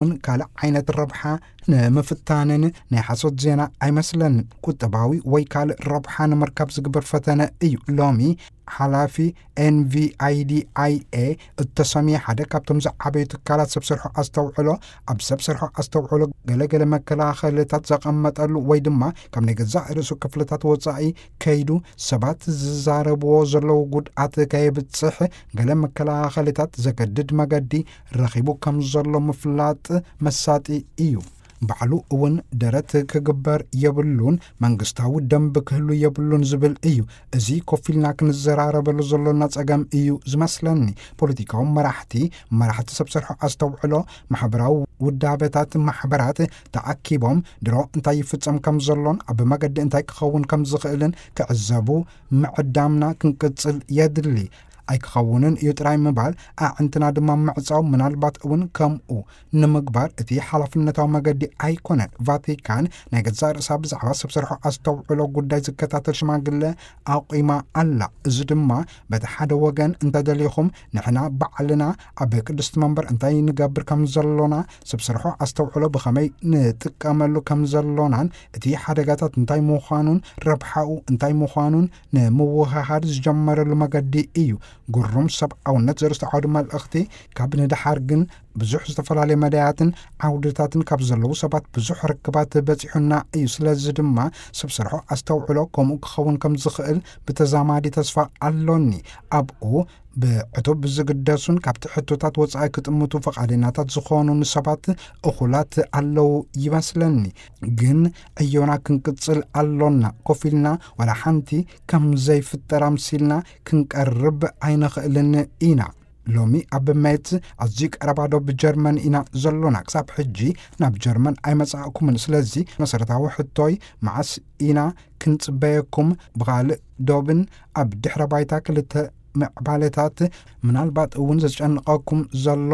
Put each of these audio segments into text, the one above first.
እውን ካልእ ዓይነት ረብሓ ንምፍታንን ናይ ሓሶት ዜና ኣይመስለንን። ቁጠባዊ ወይ ካልእ ረብሓ ንምርካብ ዝግበር ፈተነ እዩ። ሎሚ ሓላፊ NVIDIA እተሰምየ ሓደ ካብቶም ዝዓበዩ ትካላት ሰብ ስርሖ ኣስተውዕሎ፣ ኣብ ሰብ ስርሖ ኣስተውዕሎ ገለገለ መከላኸልታት ዘቐመጠሉ ወይ ድማ ካብ ናይ ገዛእ ርእሱ ክፍልታት ወጻኢ ከይዱ ሰባት ዝዛረብዎ ዘለዉ ጉድኣት ከየብጽሕ ገለ መከላኸልታት ዘገድድ መገዲ ረኺቡ ከም ዘሎ ምፍላጥ መሳጢ እዩ። ባዕሉ እውን ደረት ክግበር የብሉን፣ መንግስታዊ ደንብ ክህሉ የብሉን ዝብል እዩ። እዚ ኮፍ ኢልና ክንዘራረበሉ ዘሎና ጸገም እዩ ዝመስለኒ። ፖለቲካዊ መራሕቲ፣ መራሕቲ ሰብ ስርሖ ኣስተውዕሎ፣ ማሕበራዊ ውዳበታት፣ ማሕበራት ተኣኪቦም ድሮ እንታይ ይፍጸም ከም ዘሎን ኣብ መገዲ እንታይ ክኸውን ከም ዝኽእልን ክዕዘቡ ምዕዳምና ክንቅጽል የድሊ። ኣይክኸውንን እዩ ጥራይ ምባል፣ ኣዕንትና ድማ ምዕጻው፣ ምናልባት እውን ከምኡ ንምግባር እቲ ሓላፍነታዊ መገዲ ኣይኮነን። ቫቲካን ናይ ገዛእ ርእሳ ብዛዕባ ሰብ ስርሖ ኣስተውዕሎ ጉዳይ ዝከታተል ሽማግለ ኣቑማ ኣላ። እዚ ድማ በቲ ሓደ ወገን እንተደሊኹም ንሕና ባዕልና ኣብ ቅድስቲ መንበር እንታይ ንገብር ከም ዘሎና፣ ሰብ ስርሖ ኣስተውዕሎ ብኸመይ ንጥቀመሉ ከም ዘሎናን እቲ ሓደጋታት እንታይ ምዃኑን ረብሓኡ እንታይ ምዃኑን ንምውህሃድ ዝጀመረሉ መገዲ እዩ። ግሩም ሰብኣውነት ዘርእስቱ ዓውዲ መልእኽቲ ካብ ንደሓር ግን ብዙሕ ዝተፈላለየ መዳያትን ዓውድታትን ካብ ዘለዉ ሰባት ብዙሕ ርክባት በጺሑና እዩ። ስለዚ ድማ ሰብ ስርሖ ኣስተውዕሎ ከምኡ ክኸውን ከም ዝኽእል ብተዛማዲ ተስፋ ኣሎኒ። ኣብኡ ብዕቱብ ዝግደሱን ካብቲ ሕቶታት ወጻኢ ክጥምቱ ፈቓደኛታት ዝኾኑን ሰባት እኹላት ኣለዉ ይመስለኒ። ግን ዕዮና ክንቅጽል ኣሎና። ኮፍ ኢልና ዋላ ሓንቲ ከም ዘይፍጠር ኣምሲልና ክንቀርብ ኣይንኽእልን ኢና። ሎሚ ኣብ መየት ኣዝዩ ቀረባ ዶ ብጀርመን ኢና ዘሎና። ክሳብ ሕጂ ናብ ጀርመን ኣይመጻእኩምን። ስለዚ መሰረታዊ ሕቶይ መዓስ ኢና ክንጽበየኩም? ብኻልእ ዶብን ኣብ ድሕረ ባይታ ክልተ ምዕባለታት ምናልባት እውን ዘጨንቐኩም ዘሎ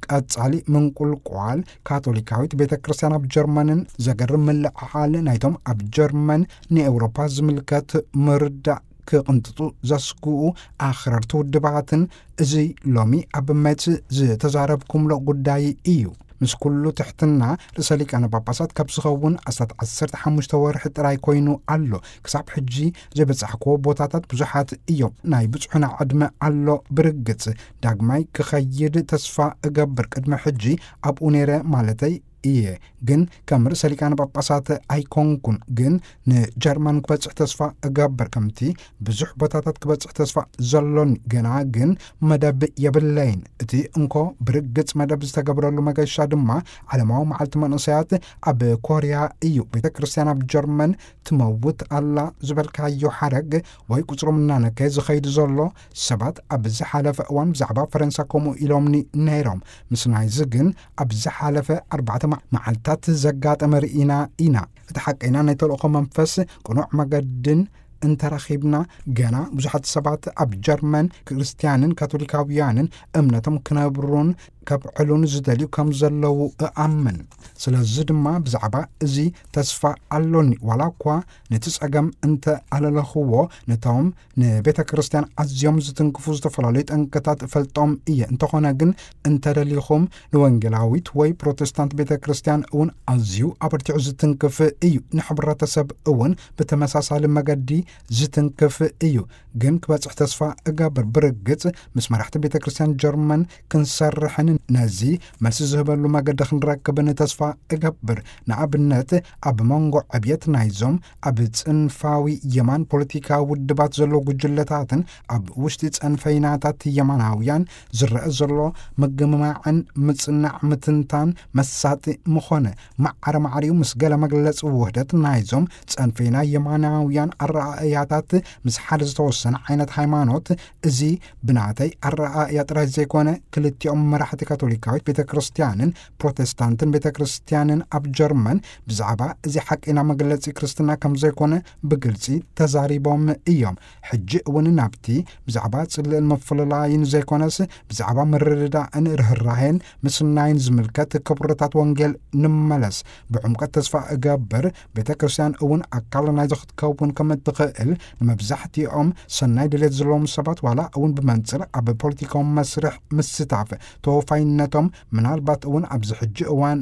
ቀጻሊ ምንቁልቋል ካቶሊካዊት ቤተ ክርስቲያን ኣብ ጀርመንን ዘገርም ምልዕዓል ናይቶም ኣብ ጀርመን ንኤውሮፓ ዝምልከት ምርዳእ ክቕንጥጡ ዘስግኡ ኣኽረርቲ ውድባትን እዚ ሎሚ ኣብ መጽ ዝተዛረብኩምሎ ጉዳይ እዩ። ምስ ኩሉ ትሕትና ርእሰ ሊቃነ ጳጳሳት ካብ ዝኸውን ኣስታት ዓሰርተ ሓሙሽተ ወርሒ ጥራይ ኮይኑ ኣሎ። ክሳብ ሕጂ ዘይበጻሕክዎ ቦታታት ብዙሓት እዮም። ናይ ብጽሑና ዕድመ ኣሎ። ብርግጽ ዳግማይ ክኸይድ ተስፋ እገብር። ቅድሚ ሕጂ ኣብኡ ነይረ ማለተይ እየ፣ ግን ከም ርእሰ ሊቃነ ጳጳሳት ኣይኮንኩን። ግን ንጀርመን ክበጽሕ ተስፋ እገብር። ከምቲ ብዙሕ ቦታታት ክበጽሕ ተስፋ ዘሎኒ፣ ገና ግን መደብ የብለይን። እቲ እንኮ ብርግጽ መደብ ዝተገብረሉ መገሻ ድማ ዓለማዊ መዓልቲ መንእሰያት ኣብ ኮርያ እዩ። ቤተ ክርስቲያን ኣብ ጀርመን ትመውት ኣላ ዝበልካዮ ሓረግ ወይ ቁጽሮም እናነከየ ዝኸይድ ዘሎ ሰባት ኣብ ዝሓለፈ እዋን ብዛዕባ ፈረንሳ ከምኡ ኢሎምኒ ነይሮም። ምስ ናይዚ ግን ኣብ ዝሓለፈ ኣርባዕተ መ-፣ መዓልታት ዘጋጠመ ርኢና ኢና። እቲ ሓቀይና ናይ ተልእኾ መንፈስ ቅኑዕ መገድን እንተረኺብና፣ ገና ብዙሓት ሰባት ኣብ ጀርመን ክርስትያንን ካቶሊካውያንን እምነቶም ክነብሩን ከብዕሉን ዝደልዩ ከም ዘለዉ እኣምን። ስለዚ ድማ ብዛዕባ እዚ ተስፋ ኣሎኒ። ዋላ እኳ ነቲ ጸገም እንተ ኣለለኽዎ፣ ነቶም ንቤተ ክርስቲያን ኣዝዮም ዝትንክፉ ዝተፈላለዩ ጠንቅታት እፈልጦም እየ። እንተኾነ ግን፣ እንተደሊኹም፣ ንወንጌላዊት ወይ ፕሮቴስታንት ቤተ ክርስቲያን እውን ኣዝዩ ኣበርቲዑ ዝትንክፍ እዩ። ንሕብረተሰብ እውን ብተመሳሳሊ መገዲ ዝትንክፍ እዩ። ግን ክበጽሕ ተስፋ እገብር። ብርግጽ ምስ መራሕቲ ቤተ ክርስቲያን ጀርመን ክንሰርሕን ነዚ መልሲ ዝህበሉ መገዲ ክንረክብን ተስፋ እገብር። ንኣብነት፣ ኣብ መንጎ ዕብየት ናይዞም ኣብ ጽንፋዊ የማን ፖለቲካዊ ውድባት ዘለዉ ጉጅለታትን ኣብ ውሽጢ ጸንፈይናታት የማናውያን ዝረአ ዘሎ ምግምማዕን ምጽናዕ ምትንታን መሳጢ ምኾነ። ማዕረ ማዕሪኡ ምስ ገለ መግለጺ ውህደት ናይዞም ጸንፈይና የማናውያን ኣረኣእያታት ምስ ሓደ ዝተወሰነ ዓይነት ሃይማኖት፣ እዚ ብናተይ ኣረኣእያ ጥራይ ዘይኮነ፣ ክልቲኦም መራሕቲ ካቶሊካዊት ቤተ ክርስቲያንን ፕሮቴስታንትን ቤተ ክርስቲያንን ኣብ ጀርመን ብዛዕባ እዚ ሓቀይና መግለጺ ክርስትና ከም ዘይኮነ ብግልጺ ተዛሪቦም እዮም። ሕጂ እውን ናብቲ ብዛዕባ ጽልእን ምፍልላይን ዘይኮነስ፣ ብዛዕባ ምርድዳእን ርህራሄን ምስናይን ዝምልከት ክብርታት ወንጌል ንመለስ። ብዕምቀት ተስፋ እገብር፣ ቤተ ክርስቲያን እውን ኣካል ናይዚ ክትከውን ከም እትኽእል፣ ንመብዛሕትኦም ሰናይ ድሌት ዘለዎም ሰባት ዋላ እውን ብመንጽር ኣብ ፖለቲካዊ መስርሕ ምስታፍ ተወፋ ተወፋይነቶም ምናልባት እውን ኣብዚ ሕጂ እዋን